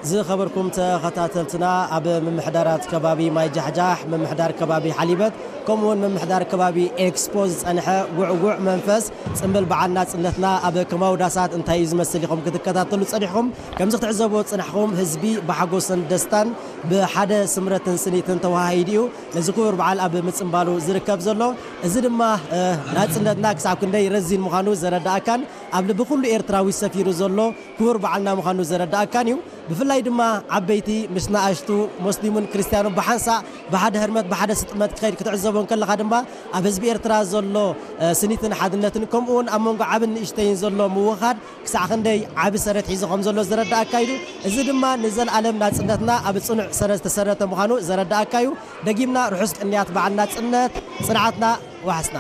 ዝኸበርኩም ተኸታተልትና፣ ኣብ ምምሕዳራት ከባቢ ማይ ጃሕጃሕ፣ ምምሕዳር ከባቢ ሓሊበት፣ ከምኡውን ምምሕዳር ከባቢ ኤክስፖ ዝጸንሐ ውዕውዕ መንፈስ ጽምብል በዓል ናጽነትና ኣብ ከማዊ ዳሳት እንታይ እዩ ዝመስል ኢኹም ክትከታተሉ ጸኒሕኩም። ከምዚ ክትዕዘብዎ ዝጸናሕኩም፣ ህዝቢ ብሓጎስን ደስታን ብሓደ ስምረትን ስኒትን ተወሃሂዱ እዩ ነዚ ክቡር በዓል ኣብ ምጽምባሉ ዝርከብ ዘሎ። እዚ ድማ፣ እ፣ ናጽነትና ክሳብ ክንደይ ረዚን ምዃኑ ዘረዳእካን ኣብ ልቢ ኩሉ ኤርትራዊ ሰፊሩ ዘሎ ክቡር በዓልና ምዃኑ ዘረዳእካን እዩ። ብፍላይ ድማ ዓበይቲ ምስ ንኣሽቱ፣ ሙስሊምን ክርስትያኑን ብሓንሳእ ብሓደ ህርመት ብሓደ ስጥመት ክኸይድ ክትዕዘቦ እንከለኻ ድማ ኣብ ህዝቢ ኤርትራ ዘሎ፣ እ፣ ስኒትን ሓድነትን ከምኡ እውን ኣብ መንጎ ዓብን ንእሽተይን ዘሎ ምውኻድ ክሳዕ ክንደይ ዓቢ ሰረት ሒዙ ከም ዘሎ ዘረዳእካ እዩ። እዚ ድማ ንዘለኣለም ናጽነትና ኣብ ጽኑዕ ሰረት ዝተሰረተ ምዃኑ ዘረዳእካ እዩ። ደጊምና ርሑስ ቅንያት በዓል ናጽነት፣ ጽንዓትና ዋሕስና።